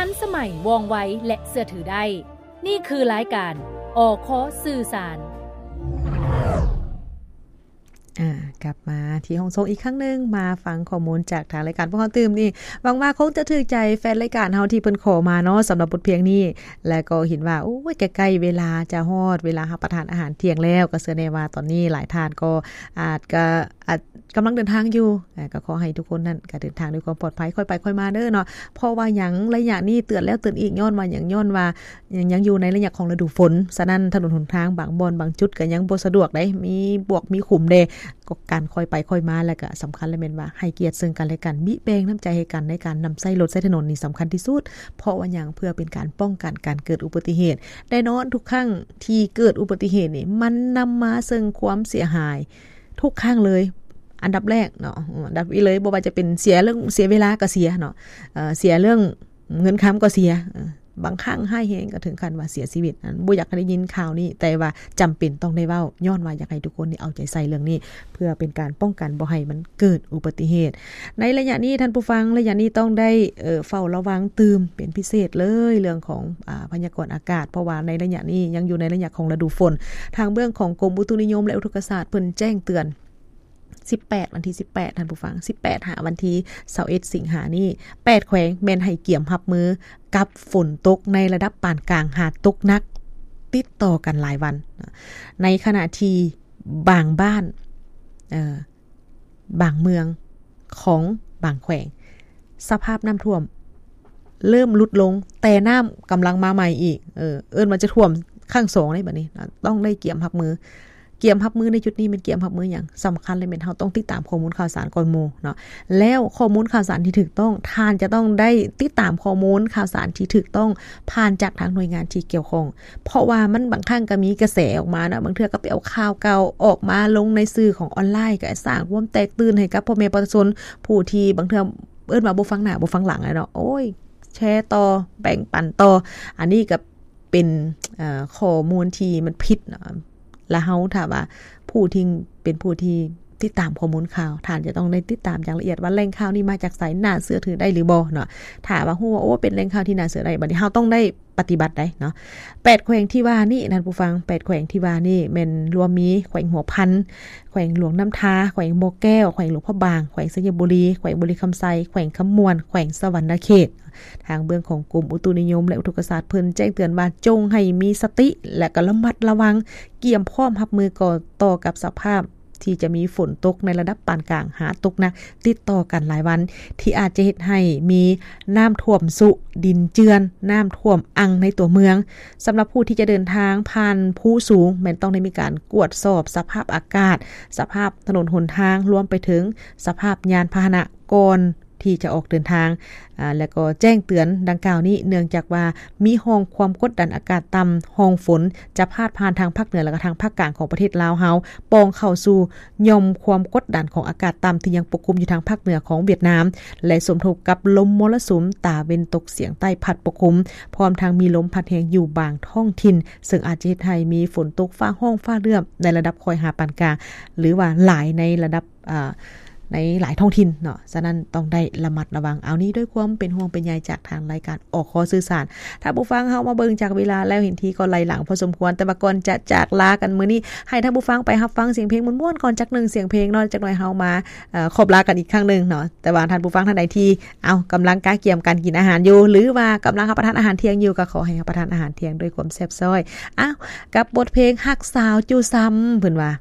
ທັນສະໄໝ, ວ່ອງໄວ ແລະ ເຊື່ອຖືໄດ້. ນີ້ຄືລາຍການ ອຄ ສື່ສານ. ອ່າ ກັບມາທີ່ຫ້ອງໂຊງອີກຄັ້ງໜຶ່ງ, ມາຟັງຂໍ້ມູນຈາກທາງລາຍການພວກເຮົາຕື່ມນີ້. ຫວັງວ່າຄົງຈະຖືກໃຈແຟນລາຍການເຮົາທີ່ເພິ່ນຂໍມາເນາະ ສຳລັບບົດພຽງນີ້ ແລະ ກໍເຫັນວ່າ ໂອ້ຍ ໃກ້ໆເວລາຈະຮອດເວລາຮັບປະທານອາຫານທ່ຽງແລ້ວ, ກໍເຊື່ອແນ່ວ່າຕອນນີ້ຫຼາຍທ່ານກໍອາດກະ ອາດ ກຳລັງເດີນທາງຢູ່ ເອີ ກໍຂໍໃຫ້ທຸກຄົນນັ້ນກໍເດີນທາງດ້ວຍຄວາມປອດໄພ ຄ່ອຍໄປຄ່ອຍມາເດີເນາະ. ເພາະວ່າຫຍັງ ໄລຍະນີ້ເຕືອນແລ້ວເຕືອນອີກ ຍ້ອນວ່າຫຍັງ ຍ້ອນວ່າຍັງ ຍັງຢູ່ໃນໄລຍະຂອງລະດູຝົນ, ສະນັ້ນຖະໜົນຫົນທາງບາງບ່ອນບາງຈຸດກໍຍັງບໍ່ສະດວກໃດ໋ ມີບວກມີຂຸມແດ່. ກໍການຄ່ອຍໄປຄ່ອຍມາ ແລະ ກໍສຳຄັນແລ້ວແມ່ນວ່າໃຫ້ກຽດເຊິ່ງກັນແລະກັນ, ບິແບ່ງນ້ຳໃຈໃຫ້ກັນໃນການນຳໃຊ້ລົດໃຊ້ຖະໜົນນີ້ສຳຄັນທີ່ສຸດ. ເພາະວ່າຫຍັງ ເພື່ອເປັນການປ້ອງກັນການເກີດອຸບັດຕິເຫດ. ແນ່ນອນທຸກຄັ້ງທີ່ເກີດອຸບັດຕິເຫດນີ້ ມັນນຳມາເຊິ່ງຄວາມເສຍຫາຍ ທຸກຄັ້ງເລີຍ. ອັນດັບແລກເນາະ ເອີ ອັນດັບອີກເລີຍ ບໍ່ວ່າຈະເປັນເສຍເລື່ອງ ເສຍເວລາກໍເສຍເນາະ ເອີ ເສຍເລື່ອງເງິນຄຳກໍເສຍ ເອີ ບາງຄັ້ງຮ້າຍແຮງກໍເຖິງຂັ້ນວ່າເສຍຊີວິດ. ອັນ ບໍ່ຢາກໃຫ້ໄດ້ຍິນຂ່າວນີ້ ແຕ່ວ່າຈຳເປັນຕ້ອງໄດ້ເວົ້າ ຍ້ອນວ່າຢາກໃຫ້ທຸກຄົນນີ້ເອົາໃຈໃສ່ເລື່ອງນີ້ ເພື່ອເປັນການປ້ອງກັນບໍ່ໃຫ້ມັນເກີດອຸບັດຕິເຫດ. ໃນໄລຍະນີ້ທ່ານຜູ້ຟັງ ໄລຍະນີ້ຕ້ອງໄດ້ ເອີ ເຝົ້າລະວັງຕື່ມເປັນພິເສດເລີຍ ເລື່ອງຂອງ ອາ ພະຍາກອນອາກາດ ເພາະວ່າໃນໄລຍະນີ້ຍັງຢູ່ໃນໄລຍະຂອງລະດູຝົນ. ທາງເບື້ອງຂອງກົມອຸຕຸນິຍົມ ແລະ ອຸທົກກະສາດ ເພິ່ນແຈ້ງເຕືອນ ສິບແປດ ວັນທີສິບແປດ ທ່ານຜູ້ຟັງ ສິບແປດ ຫາວັນທີຊາວເອັດ ສິງຫານີ້ ແປດແຂວງແມ່ນໃຫ້ກຽມຮັບມືກັບຝົນຕົກໃນລະດັບປານກາງຫາຕົກໜັກ ຕິດຕໍ່ກັນຫຼາຍວັນ. ໃນຂະນະທີ່ບາງບ້ານ ເອີ ບາງເມືອງຂອງບາງແຂວງ ສະພາບນ້ຳຖ້ວມເລີ່ມຫຼຸດລົງ ແຕ່ນ້ຳກຳລັງມາໃໝ່ອີກ ເອີ ເອີ້ນວ່າຈະຖ້ວມຄັ້ງສອງເດ້ ບັດນີ້ຕ້ອງໄດ້ກຽມຮັບມື. ກຽມຮັບມືໃນຈຸດນີ້ແມ່ນກຽມຮັບມືຫຍັງ? ສຳຄັນເລີຍແມ່ນເຮົາຕ້ອງຕິດຕາມຂໍ້ມູນຂ່າວສານກ່ອນໝູ່ເນາະ ແລ້ວຂໍ້ມູນຂ່າວສານທີ່ຖືກຕ້ອງ ທ່ານຈະຕ້ອງໄດ້ຕິດຕາມຂໍ້ມູນຂ່າວສານທີ່ຖືກຕ້ອງ ຜ່ານຈາກທາງໜ່ວຍງານທີ່ກ່ຽວຂ້ອງ. ເພາະວ່າມັນບາງຄັ້ງກໍມີກະແສອອກມາເນາະ ບາງເທື່ອກໍໄປເອົາຂ່າວເກົ່າອອກມາລົງໃນສື່ຂອງອອນລາຍ ກໍສ້າງຄວາມແຕກຕື່ນໃຫ້ກັບພໍ່ແມ່ປະຊາຊົນ ຜູ້ທີ່ບາງເທື່ອເອີ້ນວ່າບໍ່ຟັງໜ້າບໍ່ຟັງຫຼັງແຫຼະເນາະ ໂອ້ຍ ແຊຕໍ່ ແບ່ງປັນຕໍ່. ອັນນີ້ກໍເປັນ ເອີ ຂໍ້ມູນທີ່ມັນຜິດເນາະ ລະເຮົາ ຖ້າວ່າຜູ້ທີ່ເປັນຜູ້ທີ່ຕິດຕາມຂໍ້ມູນຂ່າວ ທ່ານຈະຕ້ອງໄດ້ຕິດຕາມຢ່າງລະອຽດວ່າແຫຼ່ງຂ່າວນີ້ມາຈາກໃສ ໜ້າເຊື່ອຖືໄດ້ຫຼືບໍ່ເນາະ. ຖ້າວ່າຮູ້ວ່າ ໂອ້ ເປັນແຫຼ່ງຂ່າວທີ່ໜ້າເຊື່ອໄດ້ ບັດນີ້ເຮົາຕ້ອງໄດ້ປະຕິບັດໄດ໋ເນາະ. ແປດແຂວງທີ່ວ່ານີ້ ທ່ານຜູ້ຟັງ ແປດແຂວງທີ່ວ່ານີ້ແມ່ນລວມມີແຂວງຫົວພັນ, ແຂວງຫຼວງນ້ຳທາ, ແຂວງບໍ່ແກ້ວ, ແຂວງຫຼວງພະບາງ, ແຂວງໄຊຍະບູລີ, ແຂວງບໍລິຄຳໄຊ, ແຂວງຄຳມ່ວນ, ແຂວງສະຫວັນນະເຂດ. ທາງເບື້ອງຂອງກົມອຸຕຸນິຍົມ ແລະ ອຸທົກກະສາດ ເພິ່ນແຈ້ງເຕືອນວ່າ ຈົ່ງໃຫ້ມີສະຕິ ແລະ ກໍລະມັດລະວັງ ກຽມພ້ອມຮັບມືກໍຕໍ່ກັບສະພາບທີ່ຈະມີຝົນຕົກໃນລະດັບປານກາງຫາຕົກໜັກ ຕິດຕໍ່ກັນຫຼາຍວັນ ທີ່ອາດຈະເຮັດໃຫ້ມີນ້ຳຖ້ວມຊຸ, ດິນເຈື່ອນ, ນ້ຳຖ້ວມອັ່ງໃນຕົວເມືອງ. ສຳລັບຜູ້ທີ່ຈະເດີນທາງຜ່ານພູສູງ ແມ່ນຕ້ອງໄດ້ມີການກວດສອບສະພາບອາກາດ, ສະພາບຖະໜົນຫົນທາງ, ລວມໄປເຖິງສະພາບຍານພາຫະນະ ກ່ອນທີ່ຈະອອກເດີນທາງ ອາ ແລະ ກໍແຈ້ງເຕືອນດັ່ງກ່າວນີ້ ເນື່ອງຈາກວ່າມີຮ່ອງຄວາມກົດດັນອາກາດຕ່ຳ, ຮ່ອງຝົນຈະພາດຜ່ານທາງພາກເໜືອ ແລະ ກໍທາງພາກກາງຂອງປະເທດລາວເຮົາ, ປ່ອງເຂົ້າສູ່ຢ່ອມຄວາມກົດດັນຂອງອາກາດຕ່ຳທີ່ຍັງປົກຄຸມຢູ່ທາງພາກເໜືອຂອງຫວຽດນາມ ແລະ ສົມທົບກັບລົມມໍລະສຸມຕາເວັນຕົກສຽງໃຕ້ພັດປົກຄຸມ, ພ້ອມທັງມີລົມພັດແຮງຢູ່ບາງທ້ອງຖິ່ນ, ເຊິ່ງອາດຈະເຮັດໃຫ້ມີຝົນຕົກຟ້າຮ້ອງຟ້າເຫຼື້ອມໃນລະດັບຄ່ອຍຫາປານກາງ ຫຼືວ່າຫຼາຍໃນລະດັບ ອາ ໃນຫຼາຍທ້ອງຖິ່ນເນາະ, ສະນັ້ນຕ້ອງໄດ້ລະມັດລະວັງ. ເອົາ ນີ້ດ້ວຍຄວາມເປັນຫ່ວງເປັນໃຍຈາກທາງລາຍການ ອຄ ສື່ສານ. ທ່ານຜູ້ຟັງ ເຮົາມາເບິ່ງຈາກເວລາແລ້ວ ເຫັນທີກໍໄຫຼຫຼັງພໍສົມຄວນ, ແຕ່ວ່າກ່ອນຈະຈາກລາກັນມື້ນີ້ ໃຫ້ທ່ານຜູ້ຟັງໄປຮັບຟັງສຽງເພງມ່ວນໆກ່ອນຈັກໜຶ່ງສຽງເພງເນາະ, ຈັກໜ່ອຍເຮົາມາ ເອີ ຂອບລາກັນອີກຄັ້ງໜຶ່ງເນາະ. ແຕ່ວ່າທ່ານຜູ້ຟັງທ່ານໃດທີ່ ເອົາ ກຳລັງກະກຽມການກິນອາຫານຢູ່ ຫຼືວ່າກຳລັງຮັບປະທານອາຫານທ່ຽງຢູ່ ກໍຂໍໃຫ້ຮັບປະທານອາຫານທ່ຽງດ້ວຍຄວາມແຊບຊ້ອຍ. ເອົາ ກັບບົດເພງຮັກສາວຈູ່ຊຳ ເພິ່ນວ່າ